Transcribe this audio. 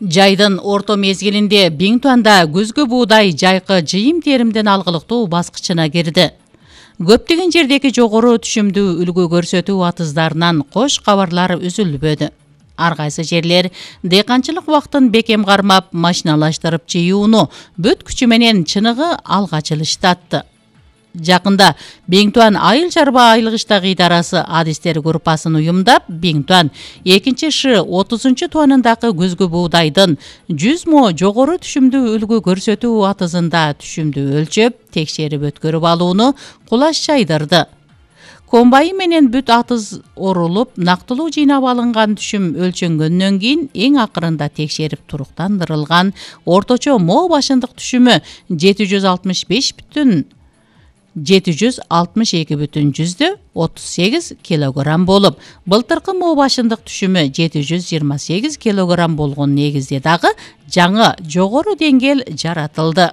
Жайдын орто мезгилинде Биңтуанда күзгү буудай жайкы жыйым-теримден алгылыктуу баскычына кирди. Көптөгөн жердеги жогору түшүмдүү үлгү көрсөтүү атыздарынан кош кабарлар үзүлбөдү. Ар кайсы жерлер дыйканчылык убактын бекем кармап, машиналаштырып жыюуну бүт күчү менен чыныгы алга жылыштатты. Жакында Биңтуан айыл чарба айылгычтагы идарасы адистер группасын уюмдап, Биңтуан 2-30 туанындагы күзгү буудайдын 100 мо жогору түшүмдүү үлгү көрсөтүү атызында түшүмдү өлчөп, текшерип өткөрүп алууну кулаш чайдырды. Комбайн менен бүт атыз орулуп, нактылуу жыйнап алынган түшүм өлчөнгөндөн кийин эң акырында текшерип туруктандырылган орточо мо башындык түшүмү 762,38 килограмм болуп, былтыркы мо башындык түшүмү 728 килограмм болгон негизде дагы жаңы жогору деңгээл жаратылды.